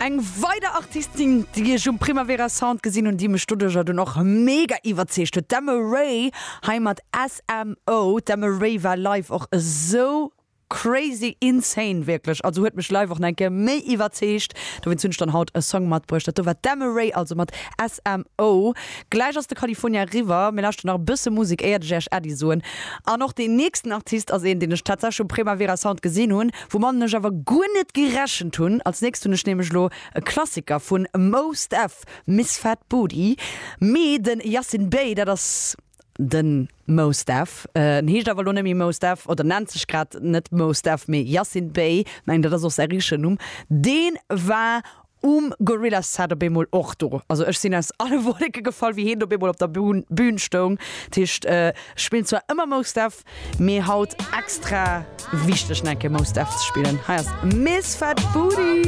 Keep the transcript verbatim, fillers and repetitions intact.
Eng weider Artistin, déi ech um Primavera Sound gesinn hunn, déi mech doduercher dunn och mega iwwerzeegt huet, d'Emma Ray, hei mat SMO. D'Emma Ray war live och esou crazy insane wierklech, also huet mech live och nach eng Kéier méi iwwerzeegt. Dowéinst hunn ech dann haut e Song matbruecht. Dat do war d'Emma Ray also mat SMO. Gläich ass de California eriwwer, mir lauschteren nach e bësse Musek éiert ech Iech Äddi soen. An och deen nächsten Artist ass een, deen ech tatsächlech um Primavera Sound gesinn hunn, woumatten ech awer guer net gerechent hunn. Als nächst hunn ech nämlech elo e Klassiker vun Mos Def, Miss Fat Booty, mee den Yasiin Bey, dat ass den Mos Def, en heescht awer elo net méi Mos Def oder nennt sech grad net Mos Def, mee Yasiin Bey, mengen dat ass och säi richtegen Numm, dee war um Gorillaz Set op eemol och do. Also ech sinn aus alle Wolleke gefall, wéi hien op eemol op der Bühn stoung. Dat heescht, ech spillen zwar ëmmer Mos Def, mee haut extra wichteg nach eng Kéier Mos Def ze spillen. Hei ass Miss Fat Booty.